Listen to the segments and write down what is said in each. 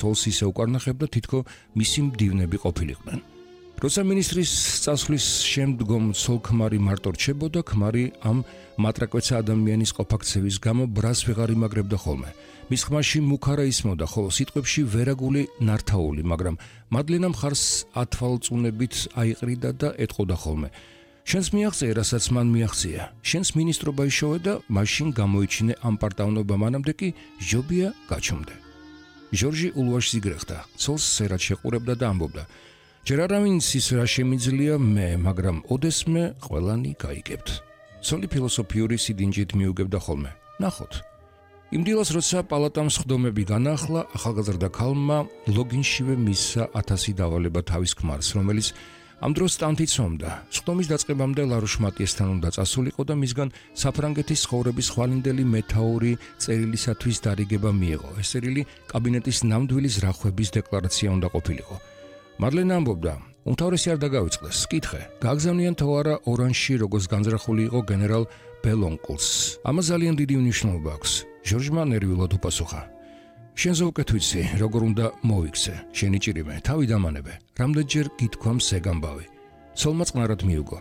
თოლს ისე უკარნახებდა, თითქო მისი მდივნები ყოფილიყვნენ. როცა მინისტრის წასვლის შემდგომ ცოლ-ქმარი მარტო რჩებოდა, ქმარი ამ მატრაკვეცა ადამიანის ყოფაქცევის გამო ბრას ვეღარ იმაგრებდა ხოლმე. მის ხმაში მუქარა ისმოდა, ხოლო სიტყვებში ვერაგული ნართაული, მაგრამ მადლენამ ხარს ათვალწუნებით აიყრიდა და ეტყოდა ხოლმე. შენს მიაღწია, რასაც მან მიაღწია. შენს მინისტრობა იშოვე და მაშინ გამოიჩინე ამ პარტავნობა, მანამდე კი ჟობია გაჩუმდე. ჟორჟი ულვაშს იგრეხდა, ცოლს სერად შეყურებდა და ამბობდა: ჯერ არავინ იცის რა შემიძლია მე, მაგრამ ოდესმე ყველანი გაიგებთ. ცოლი ფილოსოფიური სიდინჯით მიუგებდა ხოლმე. ნახოთ. იმ დილას, როცა პალატამ სხდომები განაახლა, ახალგაზრდა ქალმა ლოგინშივე მისცა 1000 დავალება თავის ქმარს, რომელიც ამ დროს სტანთი ცომდა. სხდომის დაწყებამდე ლარუშ მატიესთან უნდა წასულიყო და მისგან საფრანგეთის ცხოვრების ხვალინდელი მეთაური წერილისათვის დარიგება მიეღო. ეს წერილი კაბინეტის ნამდვილი ზრახვების დეკლარაცია უნდა ყოფილიყო. მადლენა ამბობდა: უმთავრესი არ დაგავიწყდეს, კითხე, გააგზავნიან თუ არა ორანჟში, როგორც განზრახული იყო გენერალ ბელონკლს. ამას ძალიან დიდი მნიშვნელობა აქვს. ჟორჟმა ნერვიულად უპასუხა: შენზე უკეთ ვიცი, როგორ უნდა მოვიქცე, შენი ჭირიმე, თავი დამანებე, რამდენჯერ გითქვამ სეგამბავი. ცოლმა წყნარად მიუგო: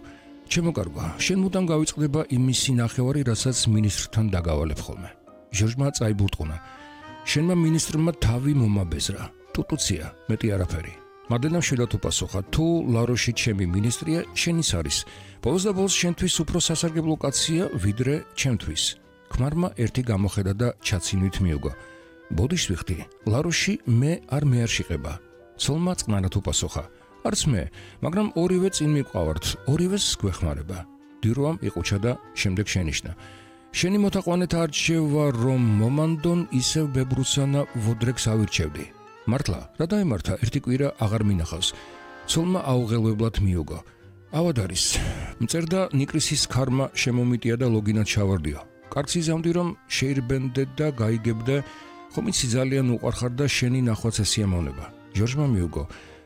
ჩემო კარგო, შენ მუდამ გავიწყდება იმისი ნახევარი, რასაც მინისტრთან დაგავალებ ხოლმე. ჟორჟმა წაიბურტყუნა: შენმა მინისტრმა თავი მომაბეზრა, ტუტუცია, მეტი არაფერი. მადლენამ შედათ უპასუხა: თუ ლაროში ჩემი მინისტრია, შენის არის. ბოლოს და ბოლოს შენთვის უფრო სასარგებლო კაცია, ვიდრე ჩემთვის. ქმარმა ერთი გამოხედა და ჩაცინვით მიუგო: ბოდიშ ვიხდი, ლაროში მე არ მეარშიყება. ცოლმა წყნარად უპასუხა: არც მე, მაგრამ ორივე წინ მიყავართ, ორივეს გვეხმარება. დიროამ იყუჩა და შემდეგ შენიშნა: შენი მოთაყვანეთ არჩევა რომ მომანდონ, ისევ ბებრუსანა ვოდრეკს ავირჩევდი. მართლა, რა დაემართა, ერთი კვირა აღარ მინახავს. ცოლმა აუღელვებლად მიუგო: ავად არის. მწერდა ნიკრისის ქარმა შემომიტია და ლოგინად ჩავარდიო. კარგს იზამდი რომ შეირბენდე და გაიგებდე, ხომ იცი ძალიან უყვარხარ და შენი ნახვაც ესიამოვნება. ჟორჟმა მიუგო: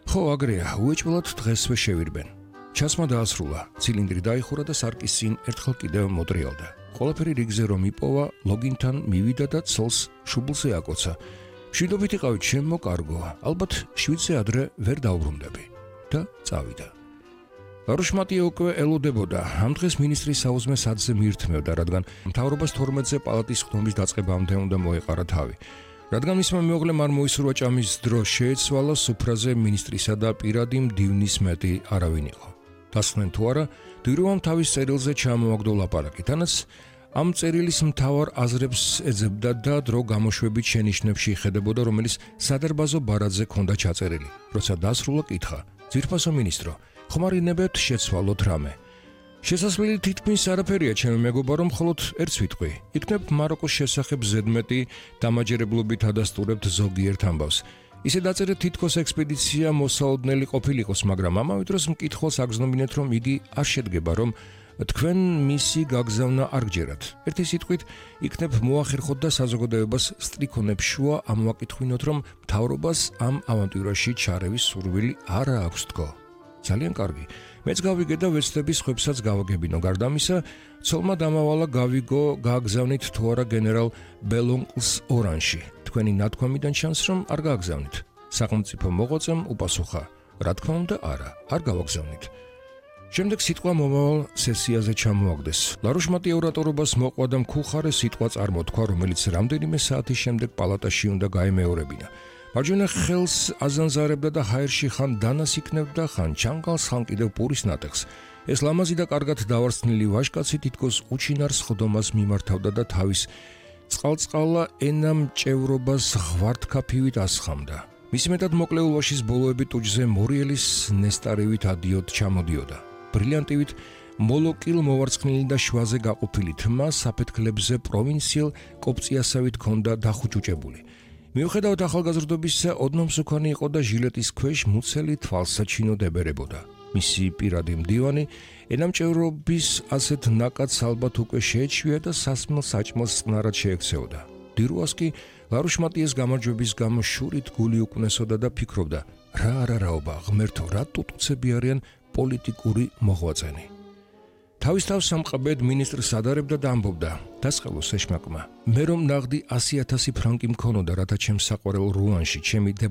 ხო, აგრეა, უეჭველად დღესვე შევირბენ. ჩასმა დაასრულა, ცილინდრი დაიხურა და სარკის წინ ერთხელ კიდევ მოტრიალდა. ყველაფერი რიგზე რომ იპოვა, ლოგინთან მივიდა და ცოლს შუბლზე აკოცა. მშვიდობით იყავი, ჩემო კარგო, ალბათ 7-ზე ადრე ვერ დაუბრუნდები და წავიდა. ლარუშ მატიე უკვე ელოდებოდა. ამ დღეს მინისტრის საუზმე სათზე მიირთმევდა, რადგან მთავრობას 12-ზე პალატის ხდომის დაწყებამდე უნდა მოეყარა თავი. რადგან მისმა მეუღლემ არ მოისურვა ჭამის დრო შეეცვალა, სუფრაზე მინისტრისა და პირადი მდივნის მეტი არავინ იყო. დასხდნენ თუ არა, დიროამ თავის წერილზე ჩამოაგდო ლაპარაკი, თანაც ამ წერილის მთავარ აზრებს ეძებდა და დრო გამოშვებით შენიშვნებში იხედებოდა, რომელიც სადარბაზო ბარათზე ჰქონდა ჩაწერილი. როცა დასრულა, კითხა: ძვირფასო მინისტრო, ხომ არ ინებებთ შეცვალოთ რამე? შესასვლელი თითქმის არაფერია, ჩემი მეგობარო, მხოლოდ ერთს ვიტყვი. იქნებ მაროკოს შესახებ ზედმეტი დამაჯერებლობით ადასტურებთ ზოგიერთ ამბავს. ისე დაწერეთ, თითქოს ექსპედიცია მოსაოდნელი ყოფილიყოს, მაგრამ ამავე დროს მკითხველს აგზნობინეთ, რომ იგი არ შედგება, რომ თქვენ მისი გაგზავნა არ გჯერათ. ერთი სიტყვით, იქნებ მოახერხოთ და საზოგადოებას სტრიქონებს შუა ამოვაკითხვინოთ, რომ მთავრობას ამ ავანტიურაში ჩარევის სურვილი არ აქვს თქო. ძალიან კარგი. მეც გავიგე და ვეცდები სხვებსაც გავაგებინო. გარდა ამისა, ცოლმა დამავალა გავიგო, გააგზავნით თუ არა გენერალ ბელონკლს ორანჟში. თქვენი ნათქვამიდან ჩანს, რომ არ გააგზავნით. სახელმწიფო მოღვაწემ უპასუხა: რა თქმა უნდა, არა, არ გავაგზავნით. შემდეგ სიტყვა მომავალ სესიაზე ჩამოაგდეს. ლარუშ მატიე ორატორობას მოყვა და მქუხარე სიტყვა წარმოთქვა, რომელიც რამდენიმე საათის შემდეგ პალატაში უნდა გაემეორებინა. მარჯვენა ხელს აზანზარებდა და ჰაერში ხან დანას იქნებდა, ხან ჩანგალს, ხან კიდევ პურის ნატეხს. ეს ლამაზი და კარგად დავარსნილი ვაჟკაცი თითქოს უჩინარ სხდომას მიმართავდა და თავის წყალწყალა ენამჭევრობას ღვართქაფივით ასხამდა. მისი მეტად მოკლე ულვაშის ბოლოები ტუჯზე მორიელის ნესტარივით ადიოდ ჩამოდიოდა. ბრილიანტივით მოლოკილ მოვარცხნილი და შვაზე გაყოფილი თმა საფეთქლებზე პროვინციელ კოპწიასავით ჰქონდა დახუჭუჭებული. მიუხედავად ახალგაზრდობისა, ოდნომსუქანი იყო და ჟილეტის ქვეშ მუცელი თვალსაჩინო დებერებოდა. მისი პირადი მდივანი ენამჭევრობის ასეთ ნაკადს ალბათ უკვე შეეჩვია და სასმელ საჭმელს წყნარად შეექცეოდა. დირუას კი ლარუშ მატიეს გამარჯვების გამო შურით გული უკნესოდა და ფიქრობდა: რა არარაობა, ღმერთო, რა ტუტუცები არიან პოლიტიკური მოღვაწენი. თავის თავს სამყაბედ მინისტრს ადარებდა და ამბობდა: დასყელოს ეშმაკმა, მე რომ ნაღდი 100,000 ფრანკი მქონოდა, რათა ჩემს საყვარელ რუანში ჩემი